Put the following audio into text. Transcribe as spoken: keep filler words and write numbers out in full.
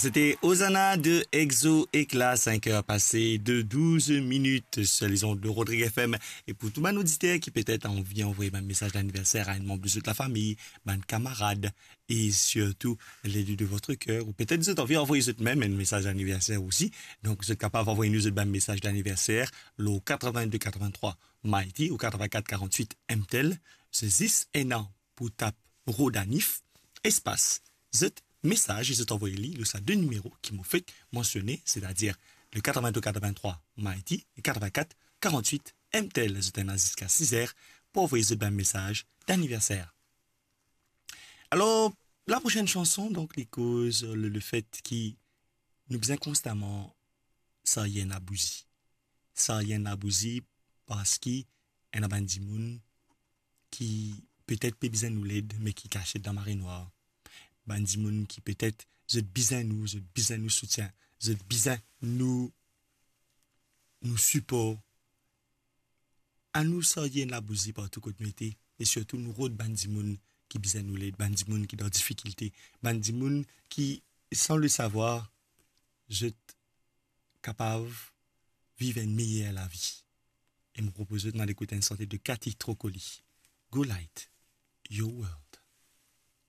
C'était Hosanna de Exo Eclat, cinq heures passées de douze minutes sur les ondes de Rodrigue F M. E pou tou bann oditer ki petet anvi anvoy bann mesaz laniverser a enn manb de zot lafami, bann kamarad, e sirtou l'aide de votre cœur, ou petet zot anvi anvoy zot mem enn mesaz laniverser osi, donk zot kapav anvoy nou zot bann mesaz laniverser lor quatre-vingt-deux quatre-vingt-trois Mighty ou quatre-vingt-quatre quarante-huit M T L, se zis ena pou tap Rodanif, espas, zot mesaz, e zot anvoy li lor sa de nimero ki mo fek mansione, setadir le quatre-vingt-deux quatre-vingt-trois Mighty e quatre-vingt-quatre quarante-huit M T L. Zot ena ziska sis er pou anvoy zot bann mesaz laniverser. Alor, laprosenn sanson, donk, li koz le, lefet ki nou bizin konstaman sarye enn labouzi. Sarye enn labouzi parski ena bann dimoun ki petet pe bizin nou led, me ki kasiet dan marenwar. Bann dimoun ki petet zot bizin nou, zot bizin nou soutien, zot bizin nou, nou sipor. Anou sarye enn labouzi partou kot nou ete, e sirtou nou rod bann dimoun ki bizin nou led, bann dimoun ki dan difikilte, bann dimoun ki, san le savwar, zot kapav viv enn meyer lavi. E mo propoz zot nou al ekout enn sante de Cathy Trocoli, Go Light Your World.